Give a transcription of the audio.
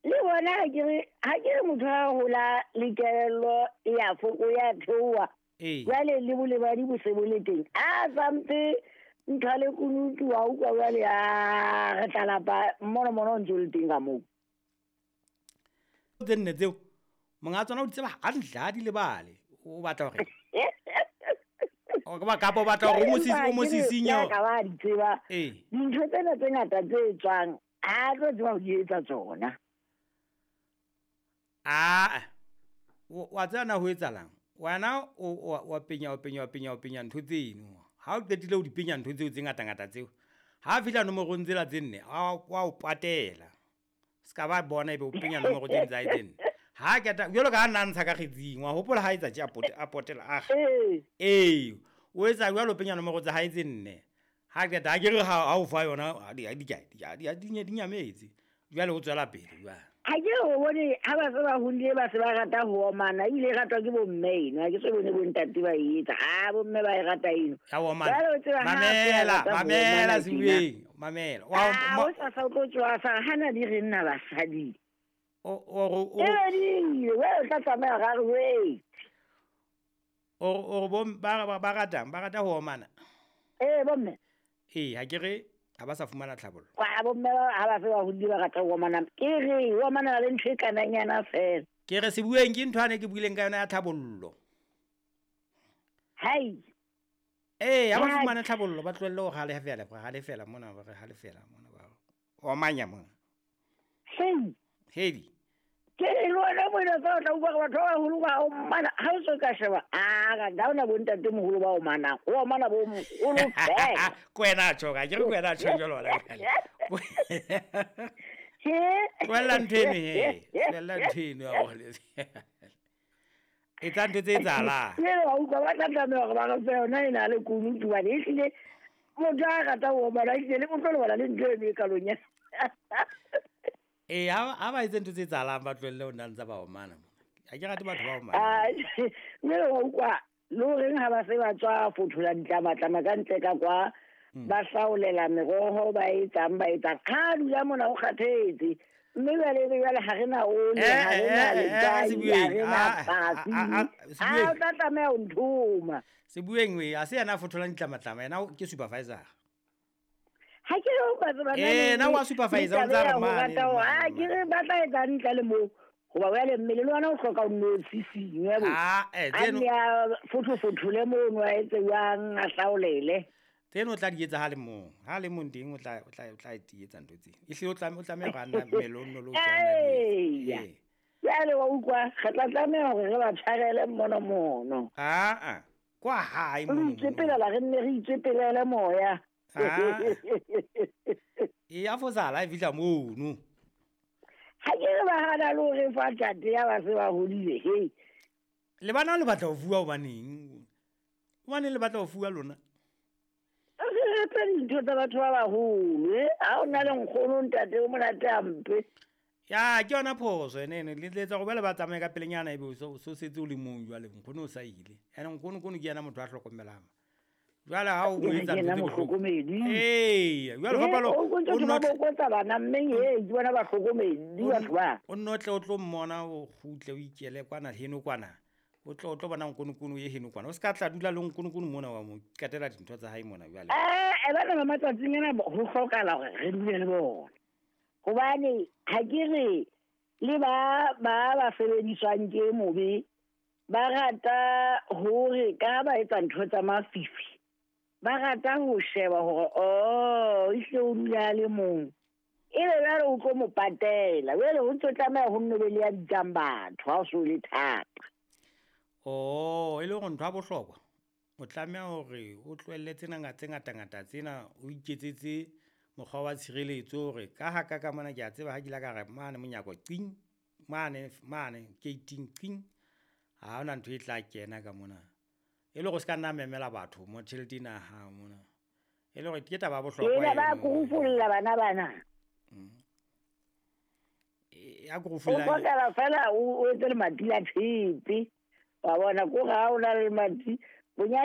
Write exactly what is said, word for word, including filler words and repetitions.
Le bona ha ke re ha ke re motho a hola le kelello ya foko ya theoha. Jwale le bolebadi bo se bo le teng. A sampe ntho le kunutu wa utlwa jwale a re tla lapa mono mono o ntso le teng ka moo. Tse nne tseo monga tsona o di tseba hantle ha di lebale. O batla hore o ba kapo batla hore o mo sisi o mo sisinyo. Ka ba di tseba. Dintho tsena tse ngata tse tswang ha tlo tseba ho di etsa tsona. Ah, wa tsena ho etsalang? Wena o wa penya o penya o penya o penya ntho tseno. Ha o qetile o di penya ntho tseo tse ngata ngata tseo. Ha fihla nomorong tsela tse nne wa o patela. Ska ba bona ebe o penya nomoro tse tsa tse nne. Ha keta jwalo ka nna ntsha ka kgetsing wa hopola ha etsa tje a pote a potela a. Eh, o etsa jwalo penya nomoro tsa hae tse nne. Ha keta ha ke re ha o fa yona di di di di di nyametse. Jwale o tswela pele jwale. Ha ke o bone ha ba se ba hodile ba se ba rata ho omana ile ratwa ke bo mme eno ha ke se bone bo ntate ba etsa ha bo mme ba e rata eno. Ya omana. Mamela, mamela Sebueng, mamela. Wa o sa sa o tlo tswa hana di re nna basadi. O o o e we o tla tsamaya ga re wait. O o bo ba ba ratang, ba rata ho omana. Eh bo mme. Eh ha ke re ha ba sa fumana tlhabollo. Kwa bo mme ha ba se ba hodile ba rata ho omana. Ke re o omana le ntho e kananyana fela. Ke re Sebueng ke ntho ane ke buileng ka yona ya tlhabollo. Hai. Eh ha ba fumana tlhabollo ba tlohelle ho halefela, ba halefela mona ba re halefela mona ba omanya mona. Hei. Hedi. Ke le wena mona fa o tla utlwa batho ba baholo ba omana ha o so ka sheba a ga ga ona bo ntate moholo ba omana o omana bo moholo fela. Ko wena tjho ka ke re ko wena tjho jwalo la jwale. Tlohella ntho eno he, tlohella ntho eno ya hore e tla ntho tse etsahalang. Ke wa utlwa ba tla tlameha hore ba re fe yona e na le kunutu bane ehlile motho a rata ho omana ehlile le motho le bona le ntho eno e kalong ya. Eh ha ba etse ntho tse etsahalang ba tlohelle ho nna ntse ba omana mona. Ha ke rate batho ba omana. Ah mme wa utlwa le horeng ha ba se ba tswa fothola ditlamatlama ka ntle ka kwa ba hlaolela meroho ba etsang ba etsang ha dula mona o kgathetse mme jwale jwale ha re na ole ha re na letswai ha re na patsi ha o tla tlameha ho nthoma. Sebueng we a se yena a fotholang ditlamatlama yena ke supervisor. Ha ke re ba tseba na eh na wa supervisor o ntsa re mane ha ke re ba tla etsa ntle le mo hoba wele mmele le wena o hloka o nno sisinywe bo ah eh tseno a fotho fothole mono a etse jwang a hlaolele tseno o tla di etsa ha le mong ha le mong teng o tla o tla o tla etsa ntho tseno ehlile o tla o tlameha go nna mmele o nno lo tsana di jwale wa utlwa re tla tlameha hore re ba tshwarele mono mono ah ah kwa hae mono re itsepela re nne re itsepelele moya. Ah. E a fosala e fihla mono. Ha ke re ba hana le hore fa tjate ya ba se ba hodile he. Le bana le batla ho fuwa hobaneng? Hobaneng le batla ho fuwa lona? Re rata dintho tsa batho ba baholo eh ha o na le nkgono ntate o monate hampe. Ya ke yona phoso ene ene le tletsa go bela ba tsamaye ka pelenyana ebe o so setse o le mong jwale nkgono o sa ile. Ene nkgono kono ke yena motho a hlokomelang. Jwale ha o etsa ntho tse mohlokomedi. Eh, jwale fa palo o nno bokotsa bana mme e ke bona bahlokomedi batho ba. O nno tle o tlo mmona o kgutle o ikele kwana heno kwana. O tlo o tlo bona nkonokono ye heno kwana. O ska tla dula le nkonokono mona wa mo qetela dintho tsa hae mona jwale. Eh, e bana ba matsatsing ana ho hlokala hore re dule le bona. Hobane ha ke re le ba ba ba sebediswang ke mobe ba rata hore ka ba etsa ntho tsa mafifi. Ba rata ho sheba hore oh ehlile o dula le mong ebe jwale o tlo mo patela jwale ho ntso tlameha ho nno be le ya bitsang batho ha o so le thata. Oh e le hore ntho ya bohlokwa o tlameha hore o tlohelle tsena tse ngata ngata tsena o iketsetse mokgwa wa tshireletso hore ka ha ka ka mona ke a tseba ha ke la ka re mane monyako qing mane mane gating qing ha hona ntho e tla kena ka mona. E le go ska nna memela batho mo tjhelete ena ha mona e le gore ke taba bohlokwa ena ba kurufulla bana bana ya kurufulla o tla fela o etse le madi a tshepe wa bona ko ga o na le madi bonya